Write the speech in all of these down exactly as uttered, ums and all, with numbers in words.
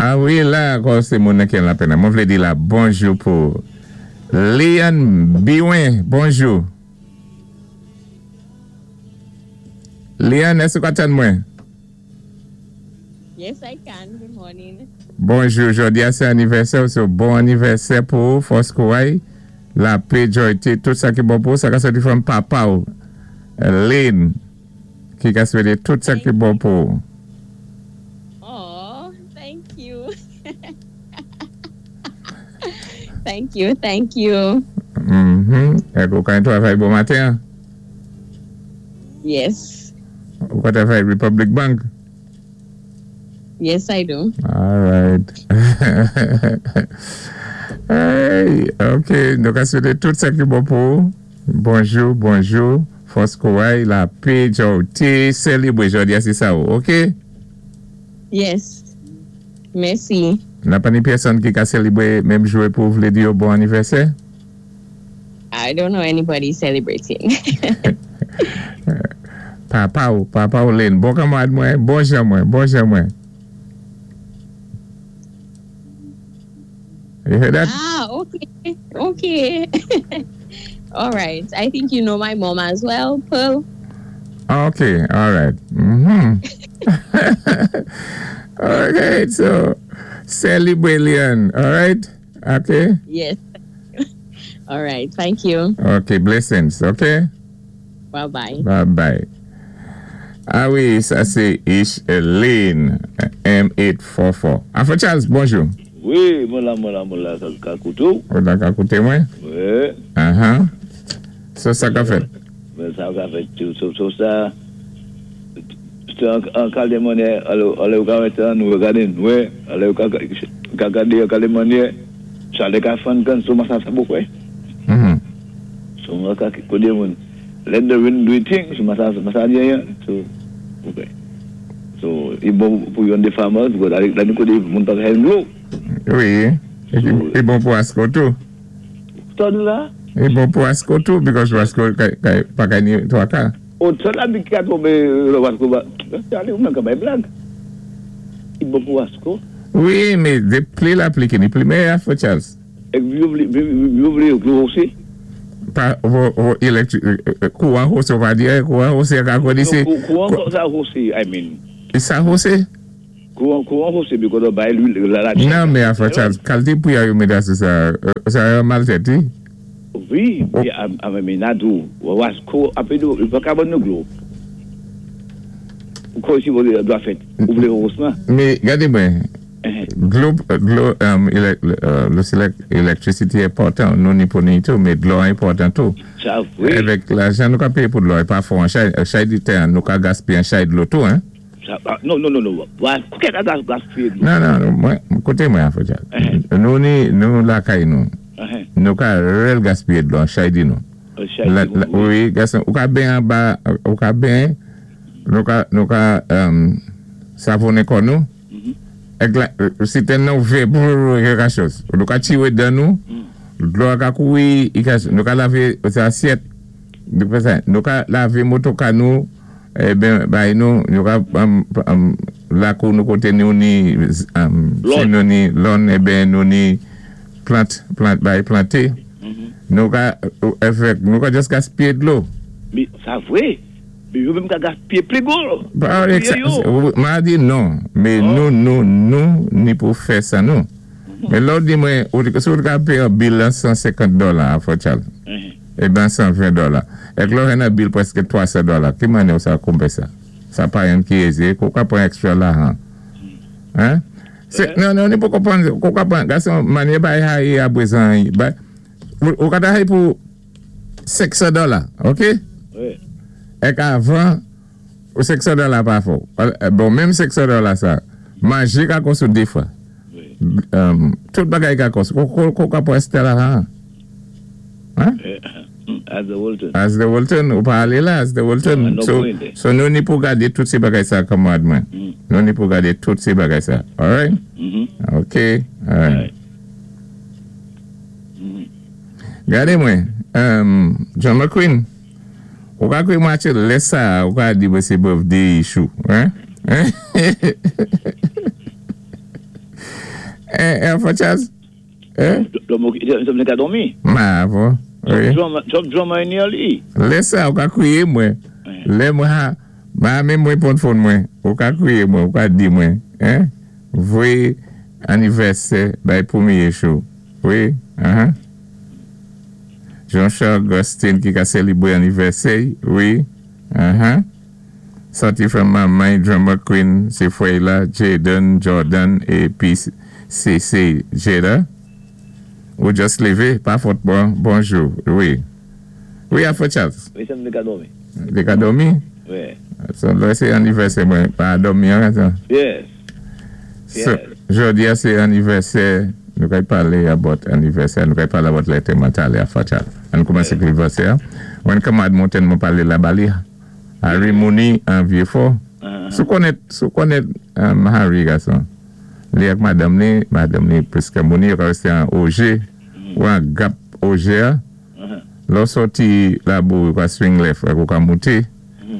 A wi, la, ankò sé moun ki an lapèn. Mwen vlé di la bonjou pou Leon Biwen, bonjou. Leon, èské ou ka tann mwen? Yes, I can. Good morning. Bonjou, jòdi a sé anivèsè, so bon anivèsè pou fòs kouray, lapè, jòyté, tout sa ki bon pou, sa ka sòti from papa ou, Lynn, ki ka swété tout sa ki bon pou. Oh, thank you. Thank you, thank you. Mhm. Èk ou ka travay bon maten? Yes. Ou ka travay Republic Bank? Yes, I do. All right. Hey, ok, nou ka swété tout sa ki bon pou. Bonjou, bonjou. Fòs kouray, lapè, jòyté, sélébwé jòdi a sé sa ou, ok? Yes. Mèsi. N'a pa ni pèsonn ki ka sélébwé menm jou pou vlé di yo bon anivèsè? I don't know anybody celebrating. Papa ou, papa ou Lynn, bon kanmarad mwen, bon jan mwen, bon jan mwen. You hear that? Ah, okay. Okay. All right. I think you know my mom as well, Pearl. Okay, all right. Mm-hmm. Okay, so celebrate Leon, all right? Okay? Yes. All right. Thank you. Okay, blessings, okay? Bye-bye. Bye-bye. A wi, sa sé Ish Lynn, M eight four four. Afro Charles, bonjou. Wi, mwen la, mwen la, mwen la, ka kouté ou. Ou la ka kouté mwen? Wi. Uh-huh. So sa ka fèt? Ben, sa ka fèt, so, so sa, sé an kalté mannyè, alò, alò ou ka wè nou gadé, wè, alò ou ka, ka gadé an kalté mannyè, chalè ka fann kann, so sa sa bon kwè. Mhm. So mwen ka kouté moun, let the wind do its thing, so sa, sa di anyen, so, ok. So, i bon pou yon de farmers, because la nou kouté moun pa ka hen dlo. Wi, i bon pou Wasco tou. Ton la? I bon pou Wasco tou, because Wasco pa ka ni twa ka. O, ton la bi ki ka tombe lò Wasco ba, ale ou men ka bay blag. I bon pou Wasco. Wi, mé dé pli lapli ki ni pli meyè, Afro Charles. Ek yo vlé, yo vlé dlo osi? Pa, vo, vo, elektri, kouwan hosé, ou pa di, kouwan hosé ka kodi sé. Kouwan sa hosé, I mean. Sa hosé? Kouwan, kouwan hosé, because bay lwil la la. Non, mé Afro Charles, kalté pou ya yo mété sou sa, sa yon maltèt, wi? Wi, I mean, nadou, Wasco, apé nou, pa ka bon nou dlo. Kou si vou dwa fèt, ou vlé hosman? Mé, gadé mwen, dlo, dlo, lo electricity enpòtan, nou ni pou ni tou, mé dlo enpòtan tou. Sa, wi. Avèk lajan nou ka péyé pou dlo, é pa fò an chay, chay di tè, nou ka gaspiyé an chay dlo tou, hein? Sa, non, non, non, non, kou kè ka gaspiyé dlo? Non, non, mwen, kouté mwen, Afro Charles. Nou ni, nou lakay nou, nou ka rèl gaspiyé dlo an chay di nou. Wi, gason, ou ka ben an ba, ou ka ben, nou ka, nou ka, savonnen kò nou, ek la, sitèn nou vè, pou kèk chòz. Nou ka chiwé dan nou, dlo a ka kouri, nou ka lavé asyèt, nou ka lavé motoka nou, e ben, bay nou, nou ka, lakou nou koté nou ni, si nou ni lon, e ben nou ni plant, plant, bay planté, nou ka, efek, nou ka just gaspiyé dlo. Mi, sa vwé, mi yo menm ka gaspiyé pli gwo. Ma di non, mé nou, nou, nou, ni pou fè sa nou. Mé lò di mwen, si ou ka péyé an bill an san senkant dola, Afro Charles, e ben san ven dola, ek lò hen an bill preske twa san dola, ki mannyè ou sa konpé sa? Sa pa yon ki ézé, kou ka pran extra la han. Hein? Non, non, ni pou konpwann, kou ka pran, gason, mannyè bay hay a bwezan, bay, ou ka ta hay pou senk san dola, ok? Wi. Ek avan, ou senk san dola pa fò. Bon, menm senk san dola sa, manjé ka kòs ou dé fwa. Tout bagay ka kòs. Kou ka pran Stella han? Hein? As the Walton. As the Walton, ou pa alé la, as the Walton. So nou ni pou gadé tout sé bagay sa kanmarad mwen. Nou ni pou gadé tout sé bagay sa. Alright? Ok. Alright. Gadé mwen, John McQueen, ou ka kwe mwen aché lè sa, ou ka di mwen sé birthday issue. Hein? Alpha Charles? Eh? Dòmi ka dòmi. Ma, bon. Wi. Twòp drama ni li. Lè sa, ou ka kwiyé mwen. Lè mwen ha, ma menm mwen pwan phone mwen. Ou ka kwiyé mwen, ou ka di mwen. Hein? Voyé anivèsè bay pwémyé show. Wi, uh-huh. Jean-Charles Augustin ki ka sélibwé anivèsè, wi. Uh-huh. Sòti from manman, Drummer Queen, sé fwè la, Jaden, Jordan, épi C C Jada. Ou just lévé, pa fòt bon, bonjou, wi. Wi, Alpha Charles. Wi, sa m ka dòmi. Té ka dòmi? Wi. So, la, sé anivèsè mwen, pa dòmi, an, sa. Yes. So, jòdi a, sé anivèsè, nou kay palé about anivèsè, nou kay palé about lè talè, Alpha Charles. An koumansé ak anivèsè. Mwen kanmad monten mwen palé la bali. Harry Mooney an Vieux-Fort. Uh-huh. Sou konnèt, sou konnèt um, Harry, gason. Li ak madanm ni, madanm ni prèska mouni, yo ka wè sé an O G, ou an gap O G a. Uh-huh. Lò sòti la bou, yo ka swing left, ou ka mouté.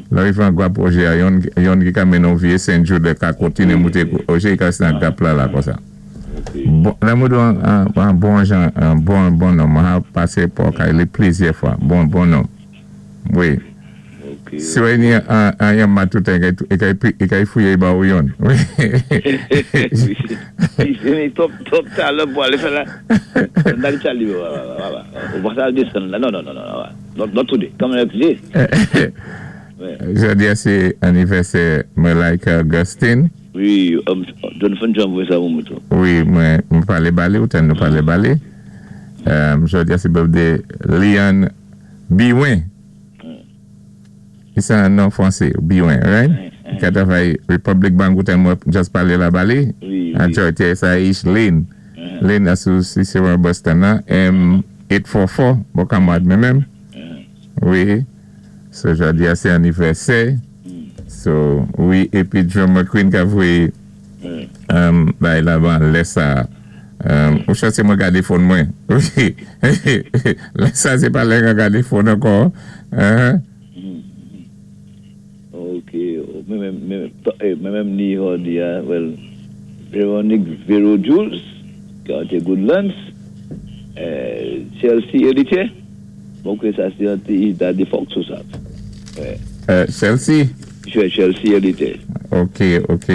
Lò yi fè an gap O G a, yon, yon ki ka mennen vie Saint Jude, ka kontiné mouté O G, yi ka wè an gap la la kon sa. Ok. Bon, la mwen do an, an, an bon jan, an bon, bon nonm. Mwen ha pasé pou kay li plizyè fwa. Bon, bon nonm. Wi. Ok. Si wè ni an, an yon matoutan, e kay, e kay fouye ba ou yon. Wi. Si twòp, twòp talè pou alé fè la. Nan Charlie, ou pa sa desann la. Non, non, non, non. Not, not today. Come next day. Ouais. Jòdi a sé anivèsè Malaika Augustine. Wi, um, Jonathan John voyé sa pou mwen tou. Wi, mwen, mwen palé bali, ou tan nou palé bali. Um, jòdi a sé birthday Leon Biwin. C'est un nom français, Biwin, right? Ki travay Republic Bank, ou tan mwen just palé la bali. Wi, An wi. Jòdi sa ish Lynn. Lynn a sou Cicero Boston nan, M eight four four, bon kanmad mwen menm. Wi. So, jòdi a sé anivèsè. So, wi, épi Drummer Queen ka voyé um, bay la ban lè sa. Um, ou chase mwen gadé phone mwen. Wi. Lè sa, sé pa lè mwen gadé phone ankò. Uh-huh. Ok, mwen menm, mwen menm ni jòdi a, well, Veronique Vero Jules, ki a Goodlands, euh, Chelsea Héritier, bon, que ça c'est un petit Daddy Fox ou ça. Ouais. Euh, Chelsea? Chelsea Héritier. Ok, ok.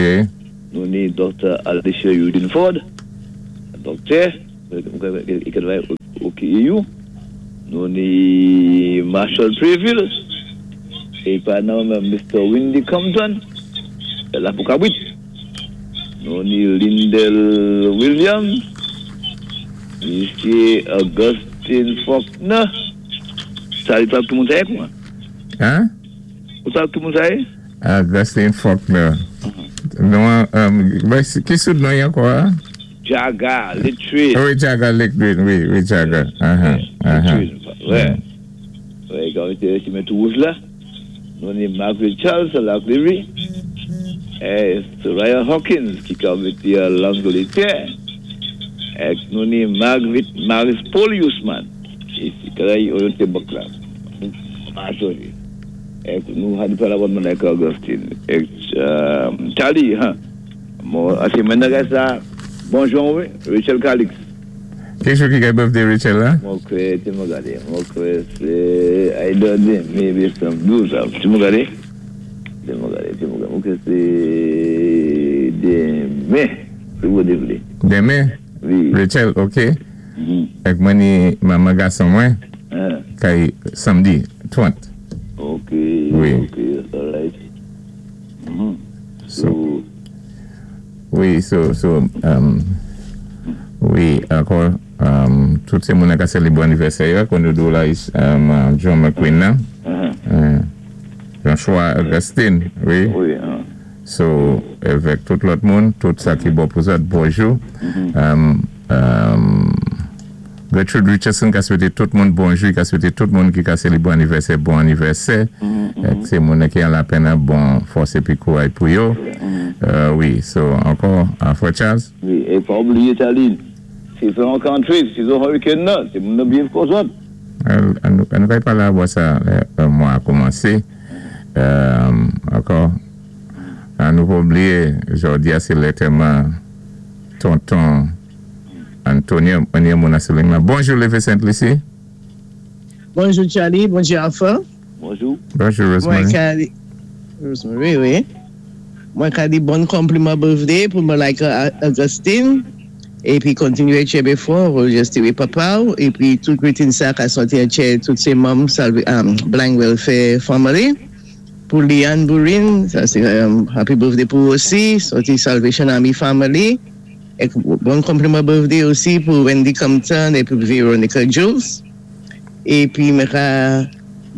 Nou ni Docteur Alicia Eugene Ford, doktè, ki travay au K E U. Nou ni Marshall Preville, é pa nan Mister Windy Compton, la pou Kabrit. Nou ni Lindell Williams, Mister Augustine Faulkner. Sa, li pa tout moun sa kouman? Hein? Ou sa tout moun sa? Augustine Faulkner. Non, um, ben, ki sou non ankò? Hein? Jaga, Littré. Wi, Jaga Littré, wi, wi, Jaga. Uh-huh, uh-huh. Wè. Wè, kan té ti mèt wouj la. Nou ni Margaret Charles à la Cléry. É Soraya Hawkins ki habité à l'Angleterre. É nou ni Margaret Maris Poliusman. Isi, ki orienté bank la. Ah, sorry. É nou had palé about Monica Augustine. É euh, Charlie, hein. Bon, sé maintenant sa. Bonjou, wi, Rachel Calix. Ki jou ki gen birthday Rachel la? Mwen kwè, ti mwen gadé, mwen kwè sé, I don't know, maybe some do some. Ti mwen gadé? Ti mwen gadé, ti mwen gadé. Mwen kwè sé denmen, si Bondye vlé. Denmen? Wi. Rachel, ok. Mhm. Ek mwen ni manman gason mwen, Hein. kay samdi, trant. Ok, Wi. ok, all right. Mhm. So, So, wi, so, so, um, wi, ankò, um, tout sé moun ka sélibwé anivèsè, kon nou do la, um, John McQueen nan, uh-huh. euh, Jean-Choix Augustine, wi. Wi, hein. So, avèk tout lòt moun, tout sa ki bon pou zòt, bonjou. Um, um, Gertrude Richardson ka swété tout moun bonjou, ka swété tout moun ki ka sélibwé anivèsè, bon anivèsè. Ek sé moun ki an lapenn, bon fòs épi kouray pou yo. Euh, wi, so, ankò, Afro Charles. Wi, é pa oubliyé Charlie, sezon country, sezon hurricane nan, sé moun nan byen konsant. An nou an nou kay palé about sa, lè mwa a koumansé. Euh, ankò, an nou pa oubliyé, jòdi a sé lantèman tonton Antonio, mwen yon moun asiling la. Bonjou, Leve Saint-Lucie. Bonjou, Charlie. Bonjou, Alpha. Bonjou. Bonjou, Mwen Rosemary. Ka di, Rosemary, wi. Mwen ka di bon konpliman birthday pou Malika Augustine. Épi kontinyé tjenbé fò, just papa, épi tout greeting sa ka sòti an tout sé manm Salve, um, Blind Welfare Family. Pou Liane Bourin, sa sé um, happy birthday pou osi, sòti Salvation Army Family. É bon konpliman birthday osi pou Wendy Compton épi Veronica Jules. Épi mwen ka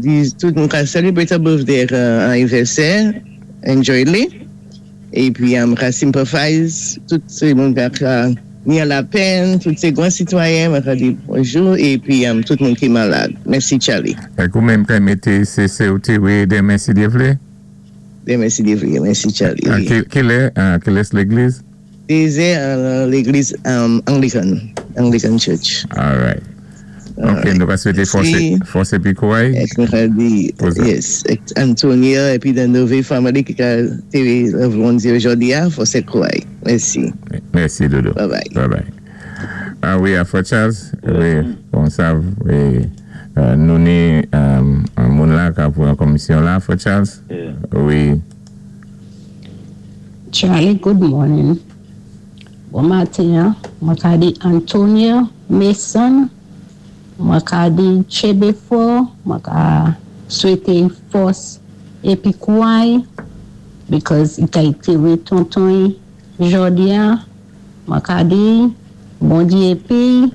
di tout moun ka celebrate a birthday uh, anivèsè, enjoy li. Épi um, ka sympathize tout sé moun ka ni lapèn, tout sé gwan sitwayen, mwen ka di bonjou épi um, tout moun ki malad. Mèsi, Charlie. É ou menm ka mété C C ou T W denmen si Dye vlé? Denmen si Dye vlé, mèsi, Charlie. Ah, Wi. Ki, ki lè, ah, ki lè légliz? Dézè uh, légliz um, Anglican, Anglican Church. All right. Ok, nou va swété fòs Mèsi. Fòs épi kouray. Ek mwen ka di, Pou sa. Yes, ek Antonia épi the Nove family ki ka téwé Bondye jòdi a, fòs é kouray. Mèsi. Mèsi, Dodo. Bye bye. Bye bye. Ah wi, Afro Charles, wi, bon sa, wi, euh, nou ni euh, yon moun la ki pou yon komisyon la, Afro Charles. Yeah. Wi. Charlie, good morning. Bon maten, mwen ka di Antonia Mason, mwen ka di tjenbé fò, mwen ka swété fòs épi kouray, because i ka téwé tonton jòdi a, mwen ka di Bondye épi,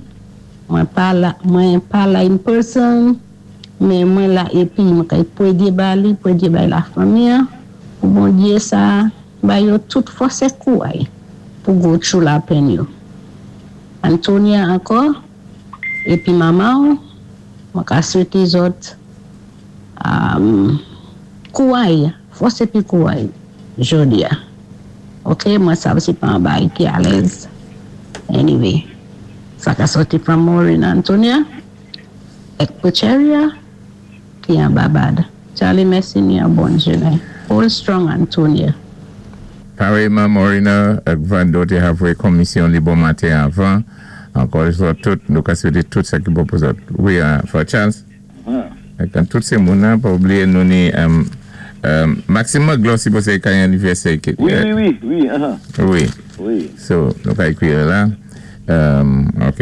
mwen pa la, mwen pa la in person, men mwen la épi mwen ka pwéyé ba li, pwéyé bay la fanmi, pou Bondye sa ba yo tout fòs é kouray pou go through lapèn yo. Antonia ankò, épi manman, mwen ka swété zòt um, kouray, fòs épi kouray, jòdi a. Ok, mwen sav sé pa an bagay ki alèz. Anyway, sa ka sòti from Maureen Antonia, ek Pocheria, ki an Babad. Charlie, mèsi ni yon bon jounen. Hold strong, Antonia. Pareillement, Morina, ak Vando té avwé komisyon li bon maten avan. Ankò zòt tout, nou ka swété tout sa ki bon pou zòt. Wi, uh, for Charles. Ah. Ak tout sé moun nan, pa oubliyé nou ni um, um, Maxime Maglo sipozé kay anivèsè. Wi, wi, wi, wi, uh-huh. Wi. Wi. So, nou ka ékwi la. Um, ok.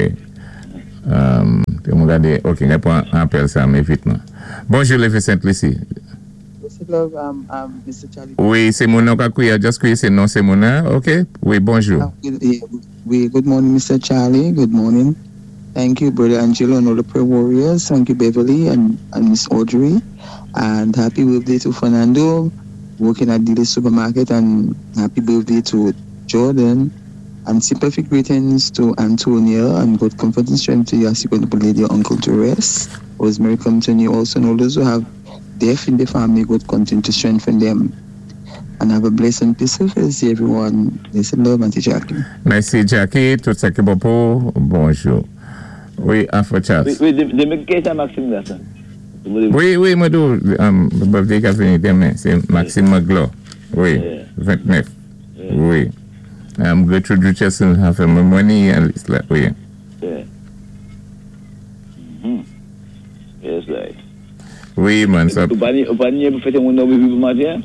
Um, mwen gadé, ok, mwen pwan apèl sa, men vitman. Bonjou, Leve Saint-Lucie. Love, um, um, Mister Charlie. Wi, sé moun nan ka kwiyé, just kwiyé sé non sé moun nan, ok? Wi, bonjou. Uh, yeah, we, good morning, Mister Charlie. Good morning. Thank you, Brother Angelo and all the prayer warriors. Thank you, Beverly and, and Miss Audrey. And happy birthday to Fernando, working at the supermarket, and happy birthday to Jordan. And sympathy greetings to Antonia, and God comfort and strength to you as you go to lay your uncle to rest. Rosemary come to you also, and all those who have death in the family, God continue to strengthen them. And have a blessed and peaceful day, everyone. Listen, love, Auntie Jackie. Mèsi, Jackie. Tout sa ki bon pou, bonjou. Wi, Afro Charles. Wi, wi, denmen ki sa Maxime la, sa? Wi, wi, mwen tou, um, birthday ka vini denmen, sé Maxime Maglo. Wi, Yeah. ventnèf. Wi. Um, Gertrude Richardson have a money and it's like, wi. Yeah. Mhm. Yes, right. Wi, man, sa, Ou pa ni, ou pa ni pou fèté moun nan wi bon maten?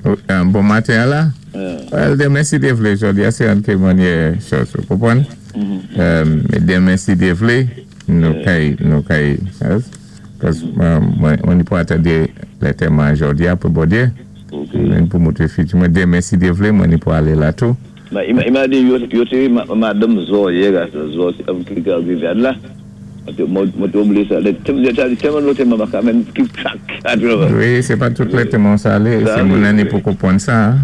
um, bon maten la? Yeah. Well, denmen si Dye vlé, jòdi a sé an ké manyè chòz, ou konpwann? Mhm. Um, denmen si Dye vlé, nou kay, nou kay, yes? 'Cause um, mwen, mwen ni pou atandé lantèman jòdi a pou Bondye. Ok. Mwen pou mouté fiti mwen denmen si Dye vlé, mwen ni pou alé la tou. Ba, i ma di yo, yo te ma, madanm Zo yè, sa Zo, am ki ka rivyad la. Mwen te oubliyé sa. Tèlman lantèman pa ka menm keep track. Wi, sé pa tout lantèman sa alé, sé moun nan ni pou konpwann sa.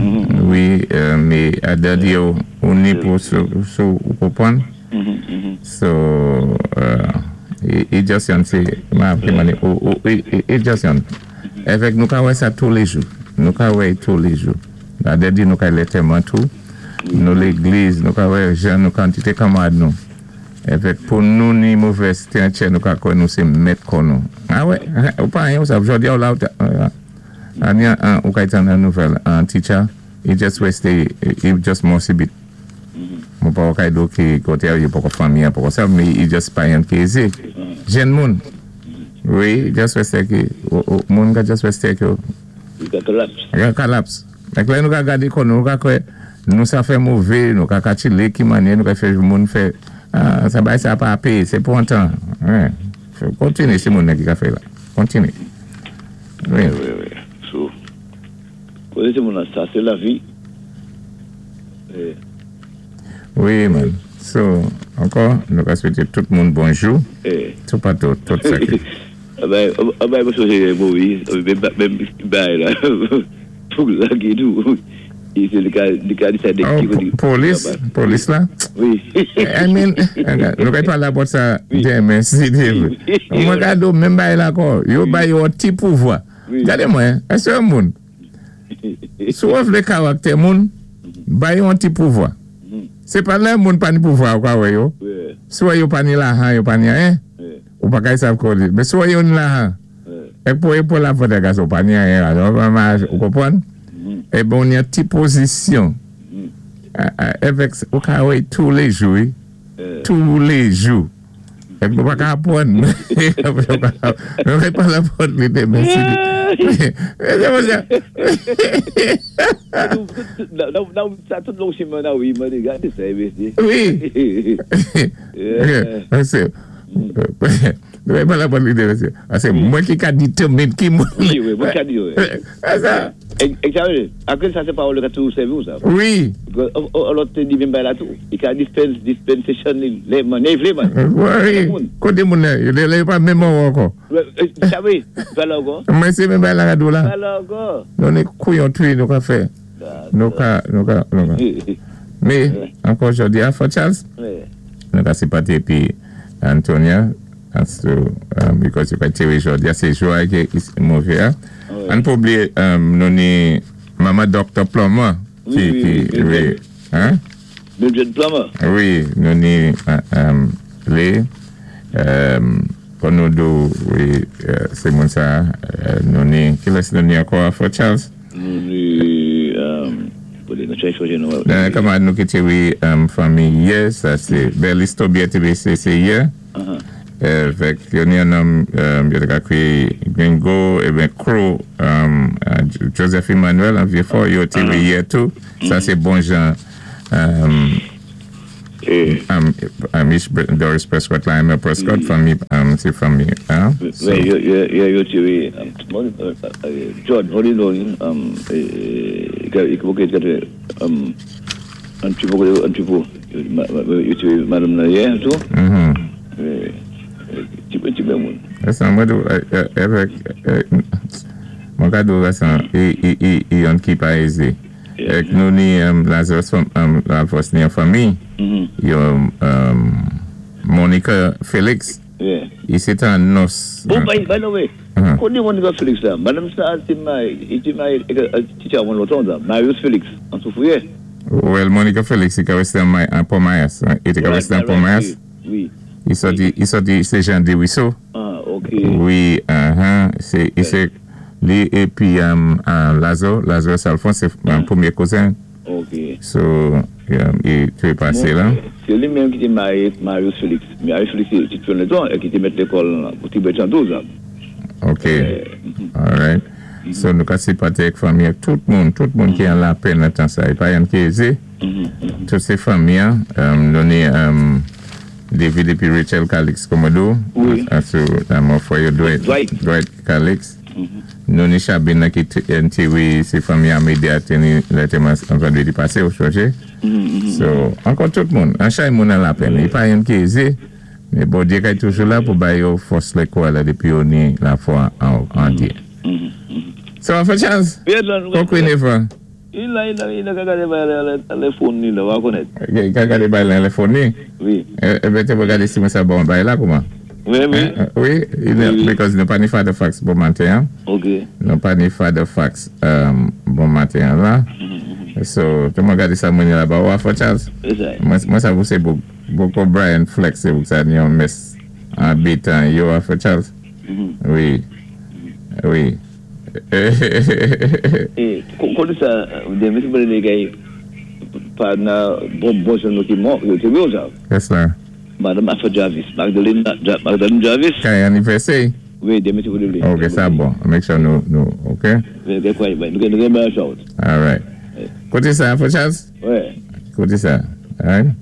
Wi, euh, mé adadi yo, ou ni pou sou, sou ou konpwann. So, uh, i, i just yon sé, ma ki mani, ou, ou, i, i, i just yon. Évèk nou ka wè sa tou lé jou. Nou ka wè tou lé jou. Adadi nou ka lantèman tou. Nou légliz, nou ka wè jan nou kantité kanmad nou. Évèk pou nou ni movèz tentchè nou ka kwè nou sé mèt kò nou. Ah wè, ou pa yon sa, jòdi a ou la, ou ta, an yan, an, ou ka itan nan nouvèl, an teacher, he just waste, he just mò sibit. Mwen pa wakay do ki kote yo poko fanmi an poko sa, mi i just pa yon ki eze. Jen moun. Wi, just weste ki, moun ka just weste ki yo. Yo ka collapse. Yo ka collapse. Ek lè nou ka gade kon, nou ka kwe, nou sa fè mouve, nou ka kachile ki manye, nou ka fè moun fè, sa bay sa pa ape, se pou an tan. Kontine si moun ne ki ka fè la. Kontine. Wi, wi, wi. So, kote se moun an sa, se la vi. Wi, man. So, ankò, nou ka swété tout moun bonjou. Tout patou, tout sa ki. Abay, abay, mwen sonjé Moïse, menm bay la, pou la ki nou, se li ka, li ka di sa dek ki. Polis, polis la? Wi. I mean, nou ka pala about sa demen, si demen. Mwen ka do menm bay la ankò, yo bay yo ti pouvwa. Gade mwen, esè moun. Sou wè vle karaktè moun, bay yo ti pouvwa. Se pa lè moun pa ni pouvwa ou ka wè yo. Sou wè yo pa ni lajan, yo pa ni anyen. Ou pa kay sav kodi. Men sou wè yo ni lajan. Ek pou e pou la fote gas ou pa ni anyen. Ou konpwann? E bon, yon ti pozisyon. Evek, ou ka wè tou lé jou. Tou lé jou. Ek nou pa ka apwann. Nou ka pa la fote li de men si di. Sa tout long chemin nan oui, mwen gade sa e besi. Oui. Se, nou pa la fote li de men si. Ase, mwen ki ka determine ki mwen. Oui, oui, mwen ka di yo. Asa. Ek sa wè, akwen sa se parole ka tou servi ou sa. Oui. Alò te di men bay la tou. I ka dispense, dispensation le man, ne vle man. Oui, kote moun ne, le pa men moun ankò. Sa wè, pa la ankò. Mwen se men bay la kadou la. Pa la ankò. Nou ne kouyon tui nou ka fè. Nou ka, nou ka, nou ka. Me, ankò jodi a, for Charles. Nou ka sipati epi Antonia, as to, because yo ka tewe jodi a, se jwa ke mouve a. An pou oubliye, nou ni Mama Doctor Plummer. Oui, oui, oui. Hein? Mildred Plummer. Oui, nou ni le, kon nou do, oui, se moun sa, nou ni, ki les nou ni ankò for Charles? Nou ni, nou chay choje nou. Kaman nou ki te we fami ye, sa se, Berlis Tobier te be se se ye. Vek, yo ni anom, yo te ka kwe Gringo, e ben Crow, Joseph Emmanuel, an vie fò, yo te we ye tou. Sa se bon jan, Amish Doris Prescott la, Emma Prescott, fami, se fami, an. Yo te we, George, voli nou, an ti pou, an ti pou, yo te we madame nan ye, tou. Ti pe moun. Esan mwen do, evek, mwen ka do esan, e yon ki pa eze. Ek nou ni Lazarus, la fos ni an fami, yo Monica Felix, i se tan nos. Bon, bay, bay nou we, konen Monica Felix la, madame sa, ti may, ti may, ti chan moun loton da, Marius Felix, an soufouye. Well, Monica Felix, i ka weste an Pomayas, i te ka weste an Pomayas. Oui. I soti, i soti, se Jean de Wisso. Ah, ok. Oui, uh-huh, se, i se, li epi Lazo, Lazo Salfon, se premier cousin. Ok. So, i te pase la. Se li menm ki te marié Marius Felix. Marius Felix, ti te fè le ton, e ki te met l'école pou ti bet an douze. Ok. Alright. So, nou ka sipate ek fami, tout moun, tout moun ki an la pen nan tan sa. E pa yon ki eze. Tout se fami, nou ni David epi Rachel Calix Komodo. Oui. Sou, nan mou fwa yo Dwight. Dwight Calix. Nou ni Chabine ki te we se fami Amédée a teni lè teman vendredi pase ou choje. So, ankon tout moun. An chay moun an la pen. I pa yon ki eze. Me bon diye kay toujou la pou bay yo fos le kwa la depi yo ni la fwa an diye. So, an fè chans? Kon kwen e fwa? Il a, il a, il a gade bay le fon ni la, wak konet. Ka gade bay le fon ni? Oui. E bete pou gade si mwen sa bon bay la kouman? Oui, oui. Oui, because nou pa ni Father Fax bon maten. Ok. Nou pa ni Father Fax bon maten la. So, te mwen gade sa mwen la ba wak fò Charles? Mwen sa vou se boko Brian Flex se vou sa ni yon mes an bitan yo wak fò Charles? Oui. Oui. Eh, kono sa, de mesi mwen de gay, partner, bon, bon, c'est nous ki mò, té wé sa. Yes, sir. Madame Afra Jarvis, Magdalene, Magdalene Jarvis. Kay anniversary? Wi, denmen sé pou li. Ok, sa bon. Make sure nou, nou, ok? Nou gen ben shout. All right. Koté sa, for Charles? Wi. Koté sa. All right?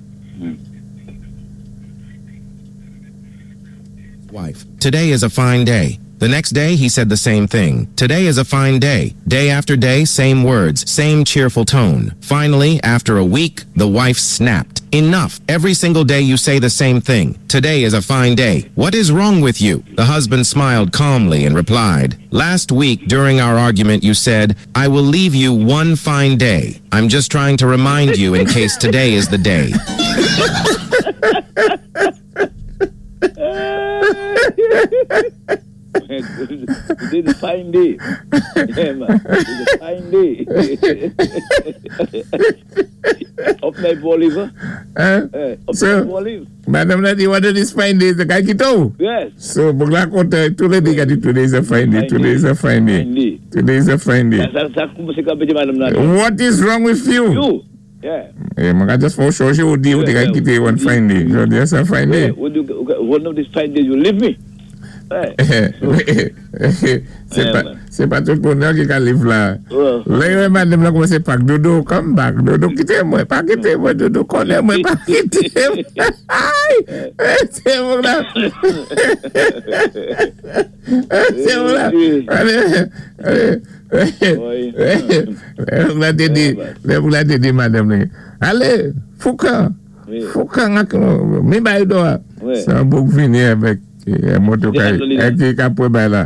Wife. Today is a fine day. The next day, he said the same thing. Today is a fine day. Day after day, same words, same cheerful tone. Finally, after a week, the wife snapped. Enough. Every single day you say the same thing. Today is a fine day. What is wrong with you? The husband smiled calmly and replied, Last week during our argument you said, I will leave you one fine day. I'm just trying to remind you in case today is the day. Today is a fine day. Yeah, man. It's a fine day. Up night for live. Huh? Up So, night for live. Madame Nadi, what is this fine day? The guy kito. Yes. So, boug la kontan, tous les days, today is a fine day, today is a fine day. Fine day. Today is a fine day. Sa, sa, koumansé ka pété Madame Nadi. What is wrong with you? You. Yeah. Eh, mwen ka just fò chanje ou di ou te ka kite one fine day. So, that's a fine day. Yeah. What do, one of these fine days you leave me. Ouais. Sé pa, sé pa tout moun ki ka live la. Ouais. Lè yo madame la koumansé pak, Dodo, come back. Dodo, kité mwen, pa kité mwen, Dodo, konnè mwen, pa kité mwen. Ay! Sé moun la. Sé moun la. Alé, alé. Lè moun la té di, lè moun la té di madame li. Alé, foukan. Wi. Foukan ak, mi bay do a. Wi. Sa boug vini avèk moto kay, ki ka pwé bay la.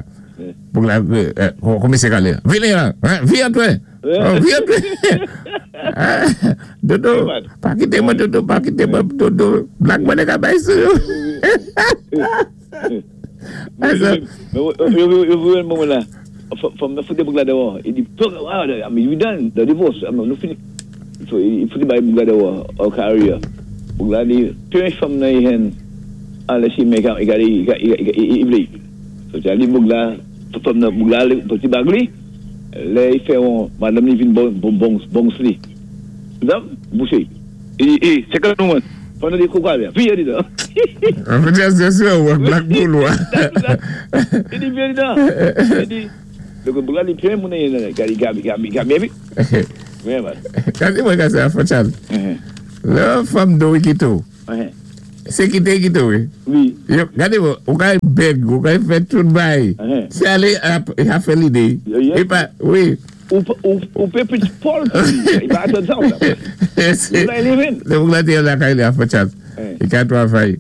Boug la, koumansé kalé. Vini la, vi antwé. Vi antwé. Dodo, pa kité mwen Dodo, pa kité mwen Dodo. Black money ka bay sou yo. Mais yo moun la, fanm nan fouté boug la déwò. I di, I mean, we done, the divorce, I mean, nou fini. So, i fouté bay boug la déwò, ou career. Boug la di, premyé fanm nan i hen, unless he make out, i gade, i, i, i, i, i vlé. So, Charlie boug la, fanm nan boug la, pati bag li, lè i fè on, madame li vin bon, bon, bon, bon li. Zam, bouché. I, i, second one. Fanm nan di kou kwa bè, vi di da. En fait, c'est sûr, ou Black Bull, ou. I di, vi di da. I di, donk boug la li premyé moun nan, gade, gade, gade, gade, gade, Wi, man. Kasi mwen ka se a fò Charles. Lè fanm do kité ou. Sé kité kité ou. Wi. Yo, gade mwen, ou ka beg, ou ka fè tout bay. Sé alé, a fè lidé. I pa, wi. Ou, ou, ou pé pit Paul, i pa atann sa ou sa. Sé, Ou la eleven. lè boug la té la kay li a fò Charles. I ka twavay.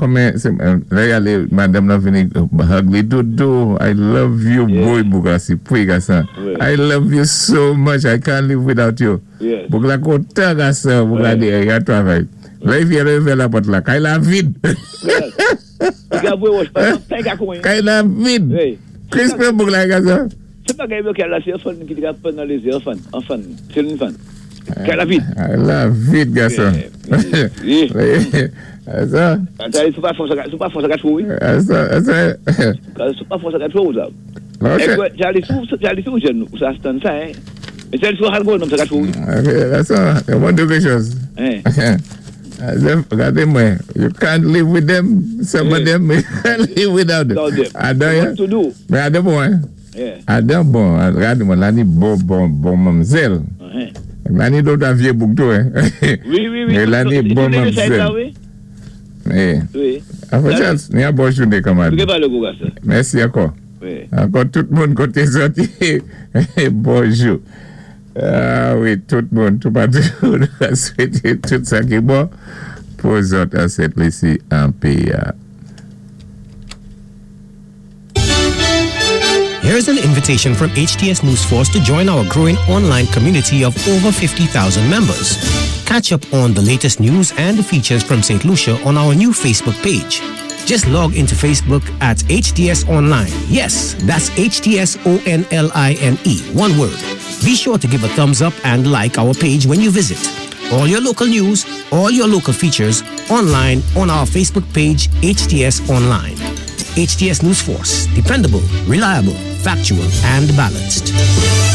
Kòmè, sé, lè y alé, madame la vini, hug li, Dodo, I love you, boy, boug la si, pouy gason. I love you so much, I can't live without you. Yes. Boug la kontan gason, boug la di, i a twavay. Lè i vye lè la pòt la, kay la vid. I ka vwé wòch, pa pen ka kouwen. Kay la vid. Wi. Krispé boug la gason. Sé pa gay kay la sé an fann ki té ka pwan nan lézé, an fann, an fann, sé yon fann. Kay la vid. Kay la vid gason. Wi. Sa. Sou pa fò sa, sou pa fò sa ka chou, wi. Sa, sa. Sou pa fò sa ka chou, sa. Ok. Charlie sou, Charlie sou jèn, ou sa stan sa, hein. Mais Charlie sou hal nan sa ka chou, wi. Ok, sa, mwen di quelque chose. Hein. Gade mwen, you can't live with them, some of them, you can't live without them. Adan, What to do? Mais adan bon, hein. Yeah. Adan bon, gade mwen, la ni bon, bon, bon mamzèl. La ni dòt a vyé boug tou, hein. Wi, wi, wi. Mais la ni bon mamzèl. Wi. Eh. Wi. Afò Charles, ni a bon jouné kanmad. Nou gen pa lé gwo gason. Mèsi ankò. Wi. Ankò tout moun koté sòti. Bonjou. Ah wi, tout moun, tout patou, nou ka swété tout sa ki bon pou zòt an Sent Lisi an péyi a. Here's an invitation from HTS News Force to join our growing online community of over fifty thousand members. Catch up on the latest news and features from St. Lucia on our new Facebook page. Just log into Facebook at H T S Online. Yes, that's H T S O N L I N E, one word. Be sure to give a thumbs up and like our page when you visit. All your local news, all your local features, online on our Facebook page, H T S Online. H T S News Force, dependable, reliable, factual, and balanced.